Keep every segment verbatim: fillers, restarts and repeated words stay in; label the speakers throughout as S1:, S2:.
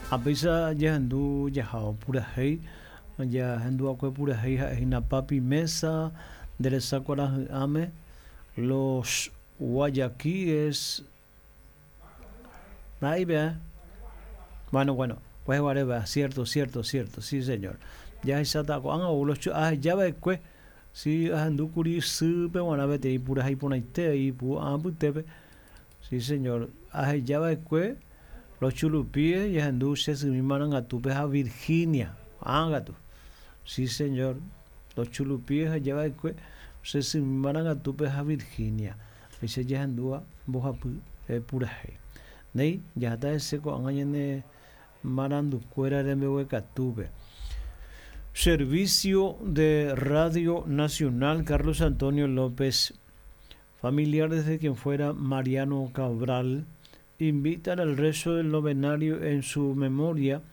S1: Ha péicha jahendu jahávo purahéi, jahenduakue purahéi ha'ehína Papi Mesa, nde resa kuarahy'ãme, Los Guayaquíes, ahí vea. Bueno, bueno, pues vea, cierto, cierto, cierto, sí señor. Jahecháta ko'ág̃a ou los ahejava'ekue, si ahendúkuri sýpe g̃uarã peteĩ purahéi porãite ipu'ã apytépe, sí señor, ahejava'ekue Los Chulupíes jahendu che symi marangatúpe ha Virginia, ág̃akatu, sí señor, Los Chulupíes ahejava'ekue che symi marangatúpe ha Virginia, péicha jahendúva mbohapy purahéi. Néi, jaháta hese ko'ág̃a ñane marandukuéra rembeguekatúpe. Servicio de Radio Nacional Carlos Antonio López, familiares de quien fuera Mariano Cabral, invitan al rezo del novenario en su memoria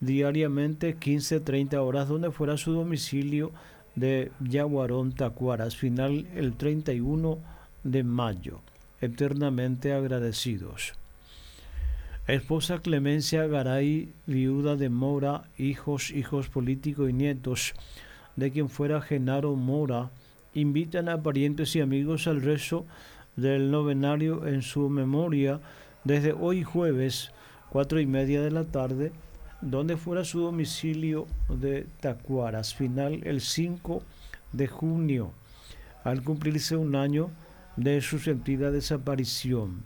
S1: diariamente quince treinta horas, donde fuera su domicilio de Yaguarón, Tacuaras, final el treinta y uno de mayo. Eternamente agradecidos. Esposa Clemencia Garay, viuda de Mora, hijos, hijos políticos y nietos de quien fuera Genaro Mora, invitan a parientes y amigos al rezo del novenario en su memoria desde hoy jueves, cuatro y media de la tarde, donde fuera su domicilio de Tacuaras, final el cinco de junio, al cumplirse un año de su sentida desaparición.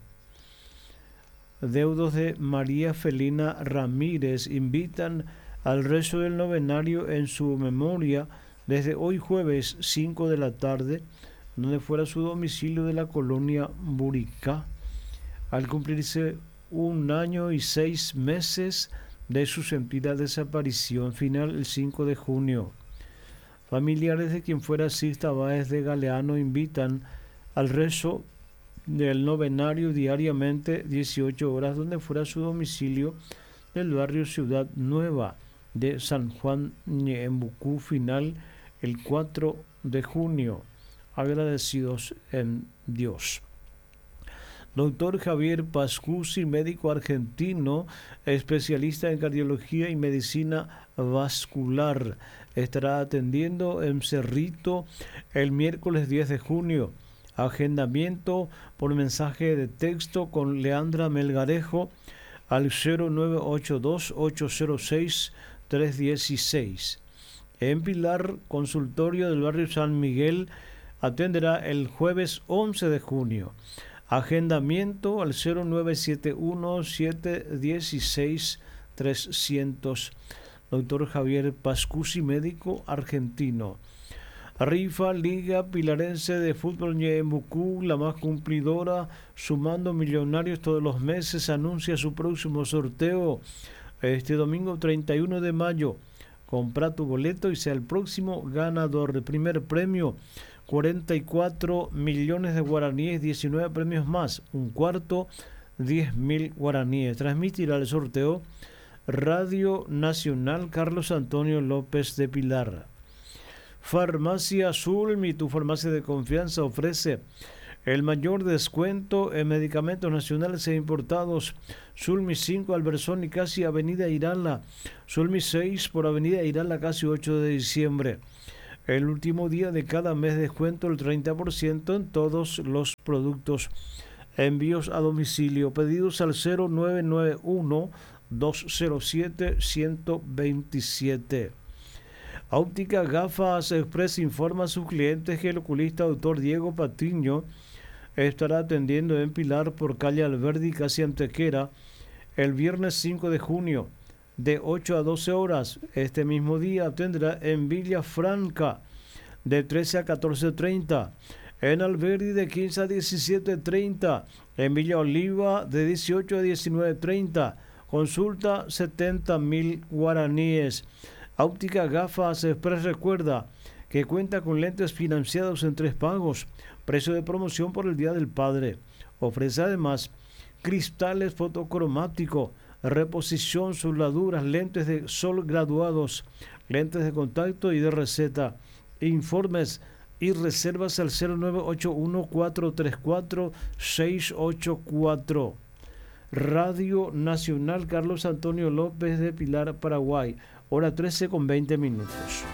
S1: Deudos de María Felina Ramírez invitan al rezo del novenario en su memoria desde hoy jueves cinco de la tarde, donde fuera su domicilio de la colonia Buricá, al cumplirse un año y seis meses de su sentida desaparición, final el cinco de junio. Familiares de quien fuera Sixta Báez de Galeano invitan al rezo del novenario diariamente dieciocho horas, donde fuera su domicilio del barrio Ciudad Nueva de San Juan Ñeembucú, final el cuatro de junio. Agradecidos en Dios. Doctor Javier Pascucci, médico argentino, especialista en cardiología y medicina vascular, estará atendiendo en Cerrito el miércoles diez de junio. Agendamiento por mensaje de texto con Leandra Melgarejo al cero nueve ocho dos, ocho cero seis, tres dieciséis. En Pilar, consultorio del barrio San Miguel, atenderá el jueves once de junio. Agendamiento al cero nueve siete uno, siete dieciséis, trescientos. Doctor Javier Pascucci, médico argentino. Rifa Liga Pilarense de Fútbol Ñeembucú, la más cumplidora, sumando millonarios todos los meses, anuncia su próximo sorteo este domingo treinta y uno de mayo. Compra tu boleto y sea el próximo ganador. El primer premio, cuarenta y cuatro millones de guaraníes, diecinueve premios más, un cuarto, diez mil guaraníes. Transmitirá el sorteo Radio Nacional Carlos Antonio López de Pilar. Farmacia Zulmi, tu farmacia de confianza, ofrece el mayor descuento en medicamentos nacionales e importados. Zulmi cinco, Albersoni, casi Avenida Irala. Zulmi seis, por Avenida Irala, casi ocho de diciembre. El último día de cada mes, descuento el treinta por ciento en todos los productos. Envíos a domicilio. Pedidos al cero nueve nueve uno, dos cero siete, ciento veintisiete. Óptica Gafas Express informa a sus clientes que el oculista doctor Diego Patiño estará atendiendo en Pilar por calle Alberdi, casi Antequera, el viernes cinco de junio de ocho a doce horas. Este mismo día atenderá en Villa Franca de trece a catorce treinta, en Alberdi de quince a diecisiete treinta, en Villa Oliva de dieciocho a diecinueve treinta. Consulta setenta mil guaraníes. Óptica Gafas Express recuerda que cuenta con lentes financiados en tres pagos, precio de promoción por el Día del Padre. Ofrece además cristales fotocromáticos, reposición, soldaduras, lentes de sol graduados, lentes de contacto y de receta. Informes y reservas al cero nueve ocho uno, cuatro tres cuatro, seis ocho cuatro. Radio Nacional Carlos Antonio López de Pilar, Paraguay, hora trece con veinte minutos.